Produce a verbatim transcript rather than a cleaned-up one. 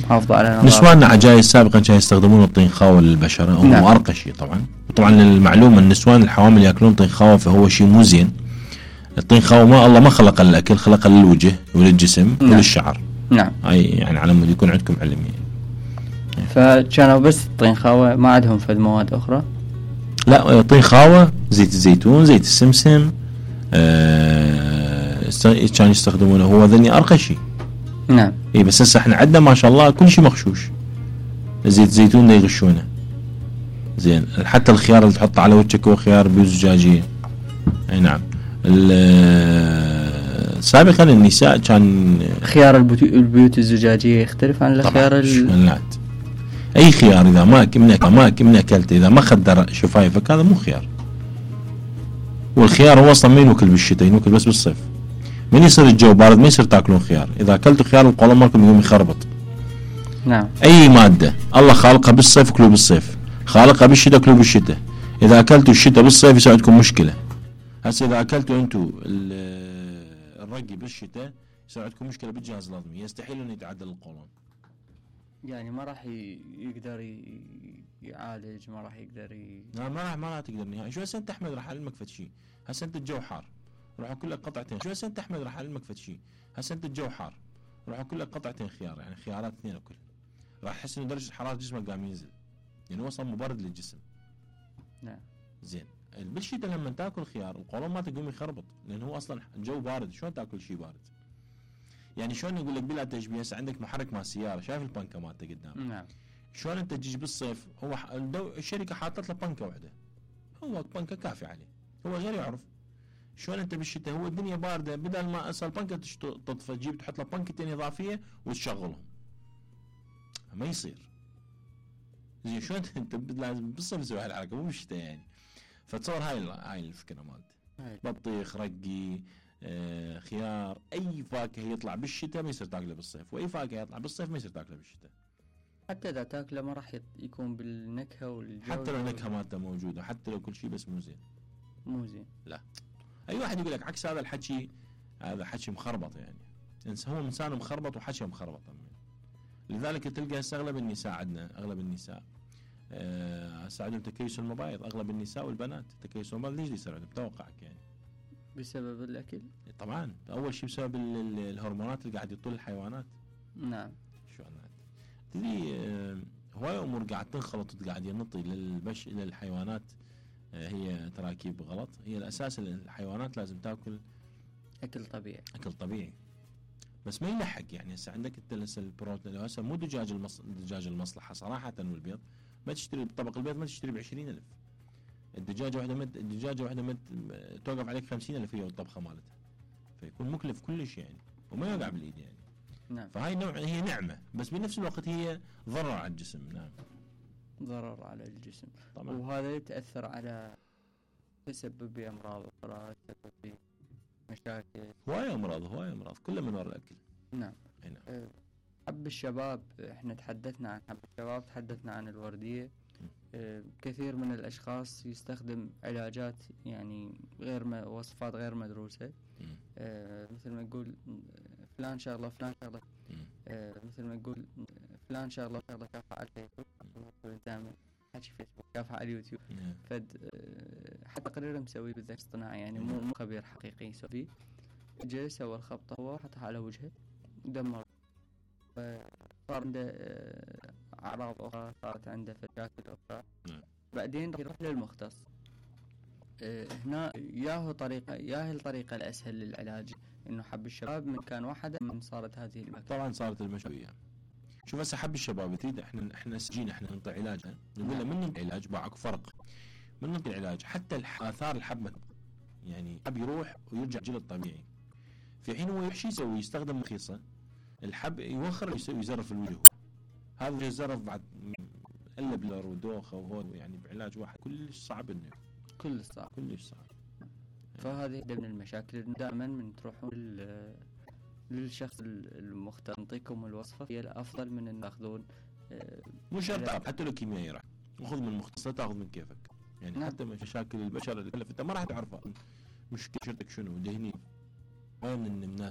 محافظة على نظافة. نسواننا عجايز سابقا كانوا يستخدمون الطين خاوة للبشرة، هو نعم. أرقى شيء طبعا. طبعا للمعلومة النسوان الحوامل يأكلون طين خاوة فهو شيء مو زين. الطين خاوة ما الله ما خلق للأكل، خلق للوجه وللجسم نعم. وللشعر. نعم. هاي يعني على مود يكون عندكم علم يعني. فكانوا بس الطين خاوة، ما عندهم فد مواد أخرى؟ لا، طين خاوة، زيت الزيتون، زيت السمسم، آه كانوا يستخدمونه، هو ذني أرقى شيء. نعم. اي بس هسه احنا عندنا ما شاء الله كل شيء مغشوش. زيت الزيتون ده يغشونه زين، حتى الخيار اللي تحطه على وجهك هو خيار بيوت زجاجية. اي نعم. سابقا النساء كان خيار البيوت الزجاجية يختلف عن الخيار ال... اي خيار اذا ما كمنك ما كمن اكلته اذا ما خدر شفايفك هذا مو خيار. والخيار هو اصلا ما ينوكل بالشتاء، ينوكل بس بالصيف. من يصير الجو بارد ما يصير تاكلون خيار، اذا اكلتوا خيار القولون مالكم يقوم يخربط. نعم. اي مادة الله خالقها بالصيف كلوا بالصيف، خالقها بالشتاء كلوا بالشتاء. اذا اكلتوا الشتاء بالصيف يصير عندكم مشكلة. هسه اذا اكلتوا انتم الرقي بالشتاء يصير عندكم مشكلة بالجهاز الهضمي، يستحيل انه يتعدل القولون. يعني ما راح يقدر يعالج، ما راح يقدر ي... لا ما راح ما راح تقدر نهائي. شو هسه انت احمد راح اعلمك فد شيء. هسه انت الجو حار راح اكل لك قطعتين. شو هسه انت احمد راح اعلمك فد شيء. هسه انت الجو حار راح اكل لك قطعتين خيار، يعني خيارات اثنين اكل، راح تحس انه درجة حرارة جسمك قام ينزل، يعني هو اصلا مبرد للجسم. نعم. زين بالشتاء لما تاكل خيار القولون ما تقوم يخربط، لان هو اصلا الجو بارد، شلون تاكل شيء بارد؟ يعني شلون يقول لك بلا تشبيه، هسه عندك محرك مال سيارة، شايف البنكة مالته قدام؟ نعم. شلون انت تجي بالصيف هو الشركة حاطت له بنكة واحدة، هو بنكة كافي عليه، هو غير يعرف. شلون انت بالشتاء هو الدنيا باردة، بدل ما اصل البنكة تطفى تجيب تحط له بنكتين اضافية وتشغلهم، ما يصير. زين شلون انت لازم بالصيف تسوي هالحركة مو بالشتاء يعني. فتصور هاي هاي الفكرة مالتي. بطيخ، رقي، آه، خيار، اي فاكهة يطلع بالشتاء ما يصير تاكله بالصيف، واي فاكهة يطلع بالصيف ما يصير تاكله بالشتاء. حتى اذا تاكله ما راح يكون بالنكهة والجو، حتى لو النكهة مالته موجودة، حتى لو كل شيء، بس مو زين. مو زين. لا. اي واحد يقول لك عكس هذا الحكي، هذا حكي مخربط يعني. هو انسان مخربط وحكي مخربط. لذلك تلقى هسه اغلب النساء عندنا، اغلب النساء هسه عندهم تكيس المبايض، اغلب النساء والبنات تكيس المبايض. ليش يصير عندهم؟ توقعك يعني بسبب الاكل؟ طبعا اول شيء بسبب الهرمونات اللي قاعد يطول الحيوانات. نعم. شو انا تدري هواي امور قاعد تنخلط وقاعد ينطي للبش للحيوانات، هي تراكيب غلط. هي الاساس الحيوانات لازم تاكل اكل طبيعي، اكل طبيعي بس ما يلحق. يعني هسه عندك التلس البروتين، لو هسه مو دجاج المص... دجاج المصلحه صراحه والبيض ما تشتري بطبق البيض ما تشتري بعشرين ألف. الدجاجه واحده مت... الدجاجه واحده مت... توقف عليك خمسين ألف هي والطبخه مالتها، فيكون مكلف كلش يعني وما يوقع بالايد يعني. نعم. فهاي نوع هي نعمه بس بنفس الوقت هي ضرر على الجسم. نعم ضرر على الجسم طبعا. وهذا يتاثر على تسبب امراض اخرى، تسبب مشاكل، هواي امراض هواي امراض كلها من وراء الاكل. نعم. نعم. أه حب الشباب، احنا تحدثنا عن حب الشباب، تحدثنا عن الورديه. أه كثير من الاشخاص يستخدم علاجات يعني غير م... وصفات غير مدروسه. أه مثل ما نقول فلان شغله فلان شغله، أه مثل ما نقول فلان شغله شغله كافة على الفيسبوك، دائما حكي فيسبوك كافة على اليوتيوب. فد أه حتى تقرير مسوي بالذكاء الاصطناعي يعني مو مو خبير حقيقي يسوي، جاي سوى الخبطه هو حطها على وجهه ودمر، صار عنده اعراض اخرى، صارت عنده مشاكل اخرى. بعدين يروح للمختص. أه هنا ياهو طريقه ياهي الطريقه الاسهل للعلاج، انه حب الشباب من كان واحده من صارت هذه المشكله. طبعا صارت المشكله. شوف هسه حب الشباب تريد احنا احنا سجينا احنا نعطي علاج، نقول له من نعطي علاج باعك فرق من نعطي العلاج حتى اثار الحب يعني الحب يروح ويرجع جلد طبيعي، في حين هو شو يسوي؟ يستخدم مخيصه الحب يوخر يسوي يزرف الوجه، هذا يزرف بعد الا بلر ودوخه وهو يعني بعلاج واحد كلش صعب انه كلش صعب كلش صعب. فهذه من المشاكل دائما من تروحون للشخص المختص يعطيكم الوصفه هي الافضل من ان تاخذون اه مو شرط حتى لو كيميائي راح خذ من مختص لا تاخذ من كيفك يعني. نعم. حتى مشاكل البشر اللي انت ما راح تعرفها مشكلتك شنو دهني وين الناس